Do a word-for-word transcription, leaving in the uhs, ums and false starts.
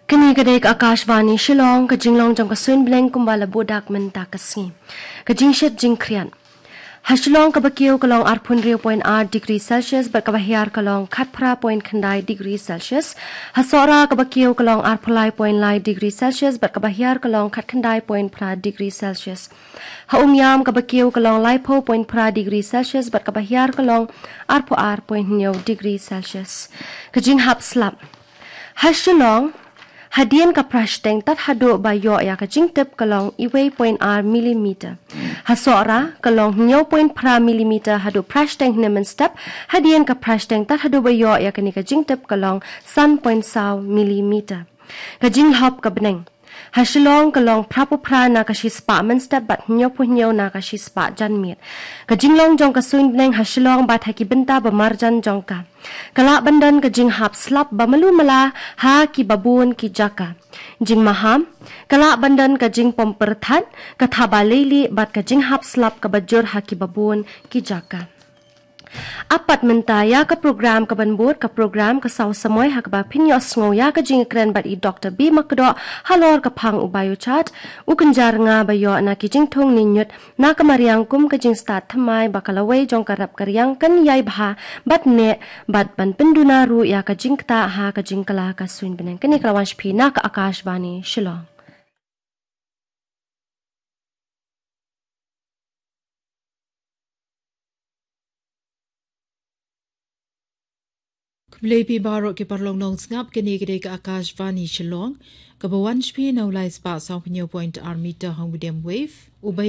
Kane ka dei ka Akashvani Shillong, ka jinglong jong ka suin bneng kumba la buh dak mynta ka sngi. Ka jingshit jingkhriat. Ha Shillong kaba kiew ka long arphew hynriew point ar degree Celsius bad kaba hiar ka long khatphra point khyndai degree Celsius. Ha Sohra kaba kiew ka long arphew lai point lai degree Celsius bad kaba hiar ka long khatkhyndai point phra degree Celsius. Ha Umiam kaba kiew ka long laiphew point phra degree Celsius bad kaba hiar ka long arphew ar point hynñiew degree Celsius. Ka jinghap slap. Ha Shillong, hadien ka phra shiteng tad haduh ba ïoh ïa ka jingtip ka long iwei point ar millimeter. Ha Sohra ka long hynñiew point phra millimeter haduh phra shiteng hynne mynstep, hadien ka phra shiteng tad haduh ba ïoh ïa kane ka jingtip ka long san point saw millimeter. Ka jinglhop ka bneng. Ha Shillong ka long phraphew phra na ka shispah mynstep bad hynñiewphew hynñiew na ka shispah janmiet. Ka jinglong jong ka suin bneng ha Shillong bad ha ki bynta ba marjan jong ka. Ka lah ban don ka jinghap slap ba malu mala ha kiba bun ki jaka. Jingmaham, ka lah ban don ka jingpom pyrthat, ka thaba leilieh bad ka jinghap slap kaba jur ha kiba bun ki jaka. Apat mynta ïa ka program kaban bud, ka program Ka Saw Samoi ha kaba phin ïohsngew ïa ka jingkren bad i Doktor B Makdoh halor ka phang u Biochart, u kynja rnga ba ïoh na ki jingthung ne ñiut na ka mariang kum ka jingstad thymmai ba ka lawei jong ka rep ka riang kan ïai bha bad neh bad ban pynduna ruh ïa ka jingktah ha ka jingkylla ka suin bneng. Kane ka la wan sha phi na ka Akashvani Shillong. Khublei phi baroh ki paralok nongsngap, kane ka dei ka Akashvani Shillong, kaba wan sha phi na u lai spah sawphew hynñiew point ar meter ha u medium wave. U ba